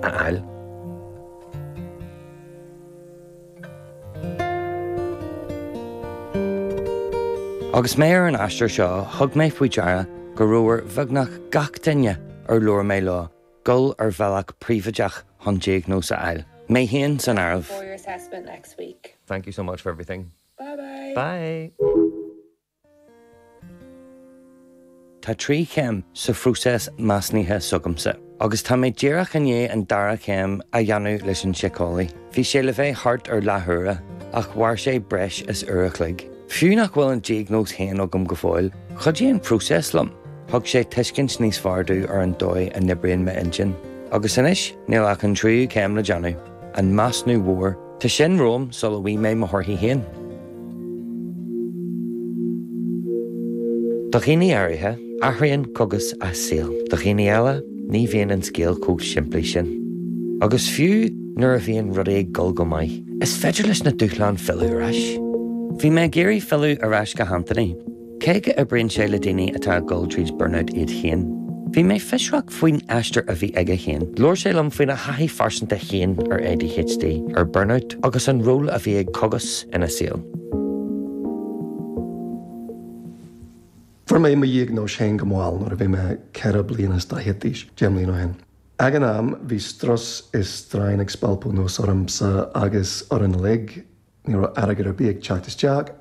A fháil. Agus mé ar an aistear seo, thug mé faoi deara go raibh ar bheagnach gach duine ar labhair mé leo dul ar bhealach príobháideach chun diagnóis a fháil, mé féin san áireamh. for your assessment next week. Thank you so much for everything. Bye bye. Bye. Tá 3 chéim sa phróiseas measúnaithe s'agamsa, agus tá mé díreach i ndiaidh an dara céim a dhéanamh leis an síceolaí. Bhí sé le bheith thart ar leathuaire, ach mhair sé breis is uair a chloig. Fiú nach bhfuil an diagnóis féin agam go fóill, chuidigh an próiseas liom. Thug sé tuiscint níos fearr domh ar an dóigh a n-oibríonn m'intinn. Agus anois, níl ach an tríú céim le déanamh, an measúnú mhór. Tá sin romham sula bhfaighidh mé mo thorthaí féin. Do dhaoine áirithe, athraíonn cogas a saol. Do dhaoine eile, ní bhíonn an scéal chomh simplí sin. Agus fiú nuair a bhíonn rudaí ag dul go maith, is féidir leis na dúshláin filleadh ar ais. Bhí mé ag iarraidh filleadh ar ais go hAnthony. Cé go oibríonn sé le daoine atá ag dul tríd burnout iad féin, bhí mé fiosrach faoin aistear a bhí aige féin. Labhair sé liom faoina thaithí phearsanta féin ar ADHD, ar burnout agus an ról a bhí ag cogas ina saol. Fuair mé mo dhiagnóis féin go mall nuair a bhí mé 44 bliana d'aois, 10 mbliana ó shin. Ag an am, bhí strus is straidhn ag spalpadh anuas ormsa agus orainn uilig, ní raibh airgead ar bith ag teacht isteach,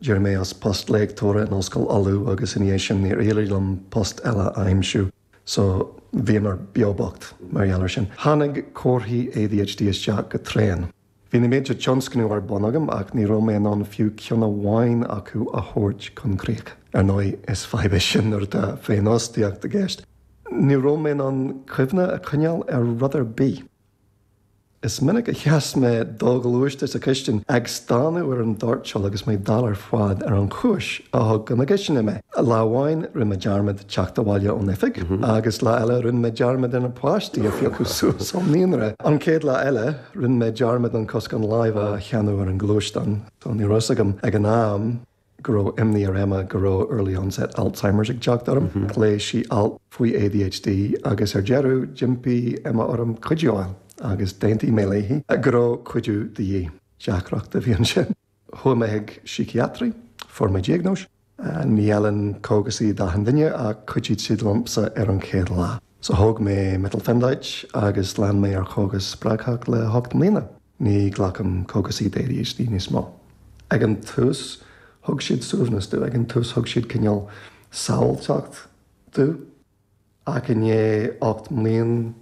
D'éirigh mé as post léachtóra in Ollscoil Uladh agus ina dhiaidh sin níor éirigh liom post eile a aimsiú so bhíomar beo bocht mar gheall air sin. Tháinig comharthaí ADHD isteach go tréan. Bhí na mílte tionscnamh ar bun agam ach ní raibh mé in ann fiú ceann amháin acu a thabhairt chun críche. Ar ndóigh is fadhb é sin nuair atá féinfhostaíocht i gceist. Ní raibh mé in ann cuimhne a choinneáil ar rud ar bith. Is minic a sheas mé doghluaiste sa chistin ag stánadh ar an doirteal agus mé dall ar fad ar an chúis a thug go na cistine mé. Lá amháin rinne mé dearmad teacht abhaile ón oifig agus lá eile rinne mé dearmad ar na páistí a phiocadh suas ón naíonra. An chéad lá eile rinne mé dearmad an coscán láimhe a cheannú ar an ghluaisteán. Ní raibh a fhios agam ag an am. go raibh imní ar Emma go raibh early onset Alzheimer's ag teacht orm. Léigh sí alt faoi ADHD agus ar deireadh d'impigh Emma orm cuidiú a fháil agus d'aontaigh mé léi go raibh cuidiú de dhíth. Deacracht a bhí ansin. Chuaigh mé chuig síciatraí, fuair mé diagnóis. Ní fheileann cógasaí d'achan duine ach chuidigh siad liomsa ar an chéad lá. So thóg mé methylphenidate agus lean mé ar chógas spreagthach le hocht mbliana. Ní ghlacaim cógasaí d'ADHD níos mó. Ag an tús, thug siad suaimhneas domh, ag an tús thug siad cineál sábháilteacht domh, ach i ndiaidh 8 mblian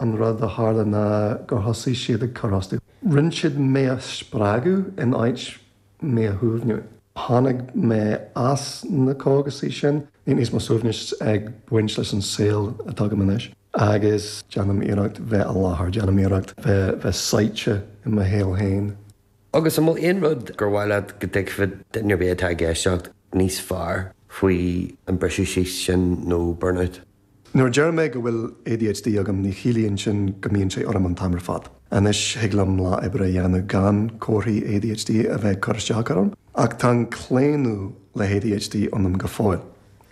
an rud a tharla ná gur thosaigh siad ag cur as domh. Rinne siad mé a spreagadh in áit mé a shuaimhniú. Tháinig mé as na cógasaí sin. Níl níos mó suaimhnis ag baint leis an saol atá agam anois agus déanaim iarracht bheith i láthair, déanaim iarracht bheith sáite i mo shaol féin. Agus an bhfuil aon rud gur mhaith leat go dtuigfeadh duine ar bith atá ag éisteacht níos fearr faoi an briseadh síos sin nó burnout? Nuair a deir mé go bhfuil ADHD agam ní chiallaíonn sin go mbíonn sé orm an t-am ar fad. Anois thig liom lá oibre a dhéanamh gan comharthaí ADHD a bheith ag cur isteach orm, ach tá an claonadh le ADHD ionam go fóill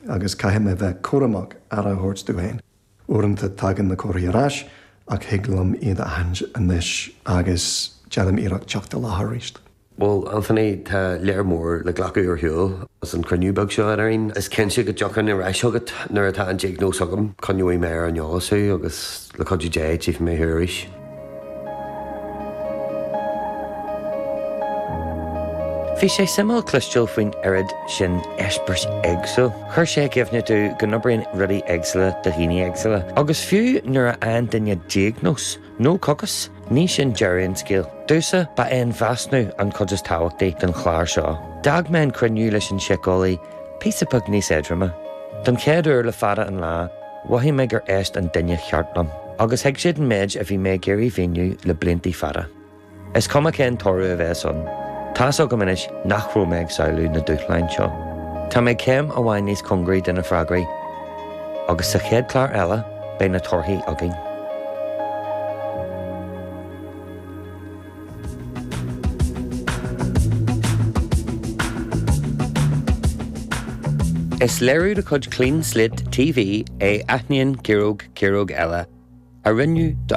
agus caithfidh mé bheith cúramach aire a thabhairt domh féin. Uaireanta tagann na comharthaí ar ais ach thig liom iad a aithint anois agus déanaim iarracht teacht i láthair arís. Bhuel, Anthony, tá lear mór le glacadh ar shiúl as an chruinniú beag seo eadrainn. Is cinnte go dtiocfainn ar ais chugat nuair atá an diagnóis agam. Coinneoidh mé ar an eolas thú agus, le cuidiú Dé, tchífidh mé thú arís. Bhí sé suimiúil cloisteáil faoin oiread sin eispéireas éagsúil. Chuir sé i gcuimhne domh go n-oibríonn rudaí éagsúla do dhaoine éagsúla. Agus fiú nuair a fhaigheann duine diagnóis, nó cogas, ní sin deireadh an scéil. Domhsa, ba é an measúnú an chuid is tábhachtaí den chlár seo. D'fhág mé an cruinniú leis an síceolaí píosa beag níos éadroime. Don chéad uair le fada an lá, mhothaigh mé gur éist an duine cheart liom, agus thuig siad an méid a bhí mé ag iarraidh mhíniú le bliantaí fada. Is cuma cén toradh a bheas ann, tá's agam anois nach raibh mé ag samhlú na dúshláin seo. Tá mé céim amháin níos cóngaraí do na freagraí, agus sa chéad chlár eile, beidh na torthaí againn. Is léiriú de chuid Clean Slate TV é Aithníonn Ciaróg Ciaróg Eile. a rinneadh do.